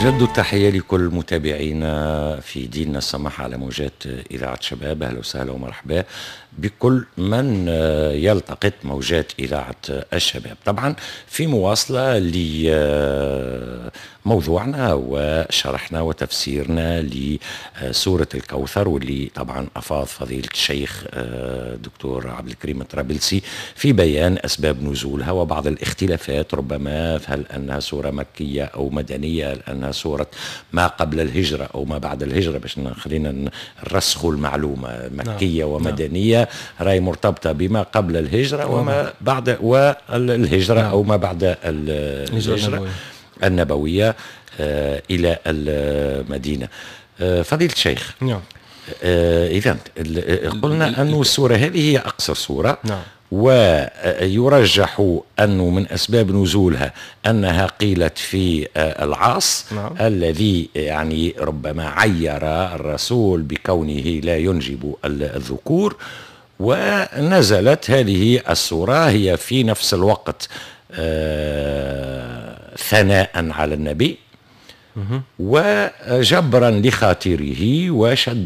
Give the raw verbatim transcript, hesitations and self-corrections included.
نجدد التحية لكل متابعينا في ديننا السمح على موجات إذاعة شباب. أهلا وسهلا ومرحبا بكل من يلتقط موجات إذاعة الشباب، طبعا في مواصلة لموضوعنا وشرحنا وتفسيرنا لسورة الكوثر، واللي طبعا أفاض فضيلة الشيخ دكتور عبد الكريم الطرابلسي في بيان أسباب نزولها وبعض الاختلافات، ربما هل أنها سورة مكية أو مدنية، هل أنها سورة ما قبل الهجرة أو ما بعد الهجرة، باش خلينا نرسخوا المعلومة، مكية نعم. ومدنية راي مرتبطة بما قبل الهجرة وما بعد والهجرة نعم. أو ما بعد الهجرة النبوية آه إلى المدينة. آه فضيلة الشيخ، نعم، آه إذا قلنا أن السورة هذه هي أقصر سورة، نعم، ويرجح أنه من أسباب نزولها أنها قيلت في العاص، نعم، الذي يعني ربما عير الرسول بكونه لا ينجب الذكور، ونزلت هذه السورة هي في نفس الوقت ثناء على النبي وجبرا لخاطره وشد